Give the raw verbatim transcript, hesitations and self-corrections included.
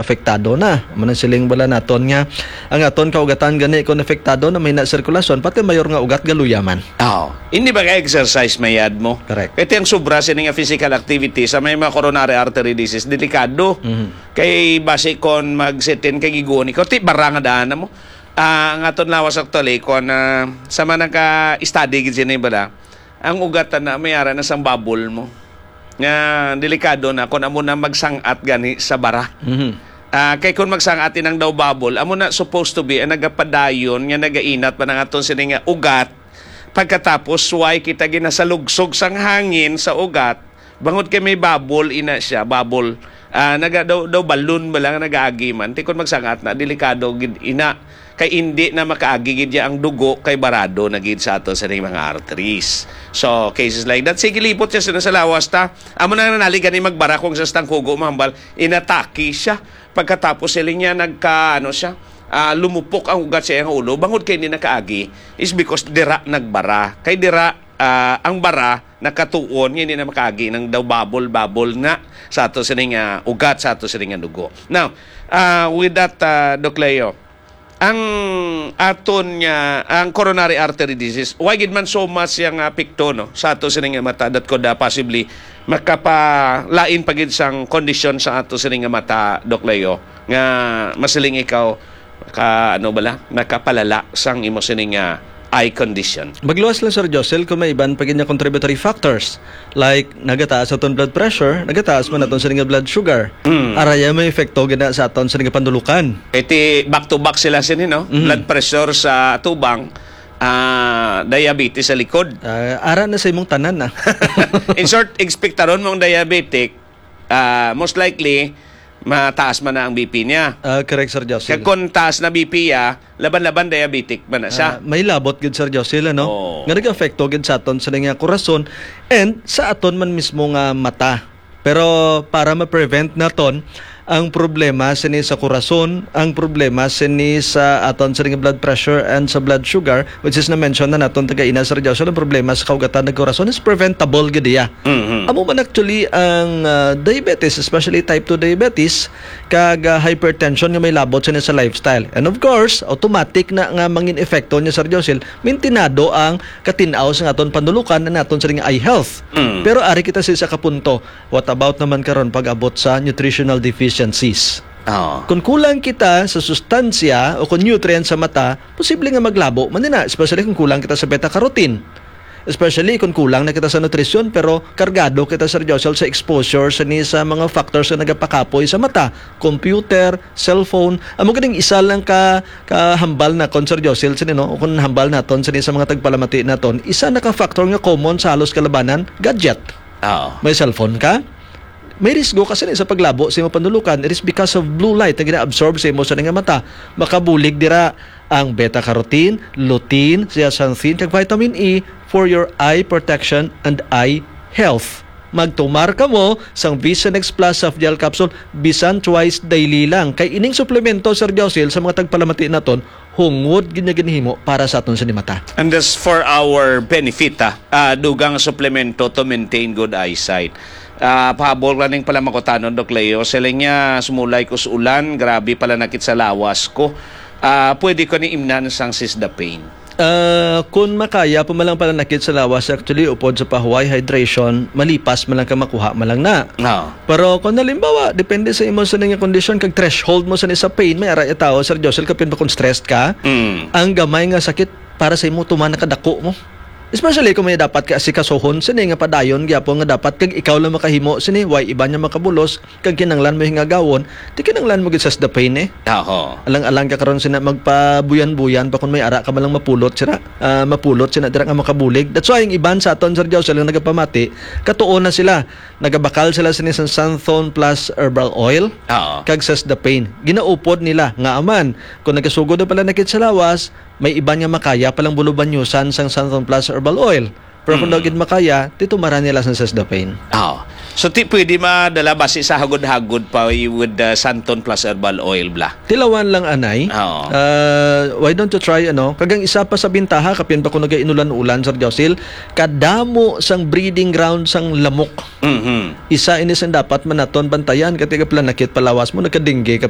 apektado na. Amo nang siling bala naton nga ang aton kaugatan gani kon apektado na may na sirkulasyon, pati mayor nga ugat galuya man. Oh, hindi ba ka exercise mayad mo? Correct. Kaya ang sobra sini nga physical activity sa may mga coronary artery disease, delikado. Mhm. Kay basi kon magsitin kay giguon ikaw, ti barang daan mo. Ah, ang aton lawas actually, kon, ah, sa mga nagka-study gid sini bala, ang ugat na may ara na sang bubble mo. Nga delikado na kung amo na magsangat gani sa bara. Mhm. Ah, kay kung magsangat inang daw bubble, amo na supposed to be ang nagapadayon nga nagainat pa ng aton sini nga ugat. Pagkatapos, why kita ginasalugsog sang hangin sa ugat? Bangod kay may bubble ina siya, bubble. Ah, naga, daw, daw balloon ba lang nagaagi man? Ti kon magsangat na, delikado gid ina. Kay indi na makaagi gid ya ang dugo, kay barado na gid sa ato sa ning mga arteries. So, cases like that. Sige, libot siya sa, sa lawas ta. Amo na nanali gani magbara kung sa stangkugo, mahambal, inatake siya. Pagkatapos, siling niya, nagka, ano siya, ah, lumupok ang ugat sa iyang ulo. Bangod kay hindi nakaagi, is because dira nagbara. Kay dira, ah, ang bara nakatuon nga hindi na makaagi ng daw bubble-bubble na sa ato sining, ah, ugat, sa ato sining nga dugo. Now, ah, with that, ah, Doc Leo, ang aton nga, ang coronary artery disease, why gid man so much yang apekto, no, sa ato sining nga mata that could, ah, possibly makapalain pa gid sang kondisyon sa ato sining nga mata, Doc Leo, nga masiling ikaw, ka, ano bala, nakapalala sang imo sining nga eye condition. Magluwas lang, Sir Josel, kung may iban pa gid nga contributory factors, like nagataas aton blood pressure, nagataas man aton sining nga blood sugar. Mm. Araya may epekto gid na sa aton sining nga panulukan. Iti back to back sila sini, no? Mm. Blood pressure sa atubang, ah, diabetes sa likod. Ah, ara na sa imong tanan, ah. In short, ekspektaron mong diabetic, ah, most likely, mataas man na ang B P niya. Ah, correct, Sir Josel. Kag kung taas na B P niya, laban-laban diabetic man na siya. Ah, may labot gid, Sir Josel, ano? Oo. Nga nag-apekto gid sa aton sa nga kurason and sa aton man mismo nga mata. Pero para ma-prevent naton ang problema sini sa kurason, ang problema sini sa aton sini nga blood pressure and sa blood sugar, which is na-mention na naton taga ina, Sir Josel, ang problema sa kaugatan ng kurason is preventable gid iya. Mhm. Amo man actually ang, ah, diabetes, especially type two diabetes, kag, ah, hypertension nga may labot sini sa lifestyle. And of course, automatic na nga mangin epekto niya, Sir Josel, mintinado ang katin-aw sa aton panulukan and aton sini nga eye health. Mm. Pero ari kita sa isa ka punto. What about naman karon pag-abot sa nutritional deficiencies? Oo. Kung kulang kita sa sustansya o kung nutrient sa mata, posible nga maglabo man din na, especially kung kulang kita sa beta-carotene. Especially kung kulang na kita sa nutrisyon, pero kargado kita, Sir Josel, sa exposure sa ni sa mga factors na nagapakapoy sa mata, computer, cellphone. Amo ganing isa lang ka, ka hambal na kon, Sir Josel, sini, no? O kung hambal naton sini sa mga tagpalamati naton, isa na ka factor nga common sa halos kalabanan, gadget. Oo. May cellphone ka, may risgo ka sini sa paglabo sa imong panulukan. It is because of blue light na gina-absorb sa imo sa nga mata. Makabulig dira ang beta-carotene, lutein, zeaxanthin, kag vitamin E for your eye protection and eye health. Magtumar kamo sang Vision X Plus Soft Gel Capsule bisan twice daily lang. Kay ining suplemento, Sir Josil, sa mga tagpalamati naton, hungod gid niya ginhimo para sa aton sa mata. And that's for our benefit, ah. Ah, dugang suplemento to maintain good eyesight. Ah, pahabol ra ning pala makutanon, Doc Leo. Siling niya, sumulay ko sa ulan, grabe pala nakit sa lawas ko. Ah, pwede ko ni imnan sang Sisdapane. Ah, kung makaya pa man lang pala nakit sa lawas, actually, upod sa pahuway, hydration, malipas man lang ka makuha man lang na. Oo. Pero kung halimbawa, depende sa imo sa nga kondisyon, kag threshold mo sa ni sa pain, may ara ya tao, Sir Josel, kapin ba kung stressed ka, Mm. ang gamay nga sakit para sa imo tuman nakadako mo. Especially kung may dapat ka asikasuhon, sini nga padayon gyapon nga dapat kag ikaw lang makahimo sini, way iba niya makabulos, kag kinanglan mo hingagawon, ti kinanglan mo gid sa Sisdapane, eh. Aho. Alang-alang ka karon sina magpabuyan-buyan pa kung may ara ka man lang mapulot sira, ah, mapulot sina dira nga makabulig. That's why ang iban sa aton, Sir Josel, nga nagapamati, katuon na sila. Nagabakal sila sini sa Santhon Plus Herbal Oil Oo. kag Sisdapane. Ginaupod nila nga aman, kung nagasugod na pala nakit sa lawas, may iban nga makaya palang bulubanyusan sang Santhon Plus Herbal Oil. Pero kung Mm. daw gid makaya, titumaran nila sa Sisdapane. Oo. So, ti pwede madala basi sa hagod-hagod pa with the Santhon Plus Herbal Oil, bla? Tilawan lang, anay. Oo. Ah, why don't you try, ano? Kagang isa pa sa bintaha, kapin pa kung nagainulan-ulan, Sir Josil, kadamo sang breeding ground sang lamok. Mhm. Isa ini sang dapat man naton bantayan, kay tiga pala nakit palawas mo, nagkadingge ka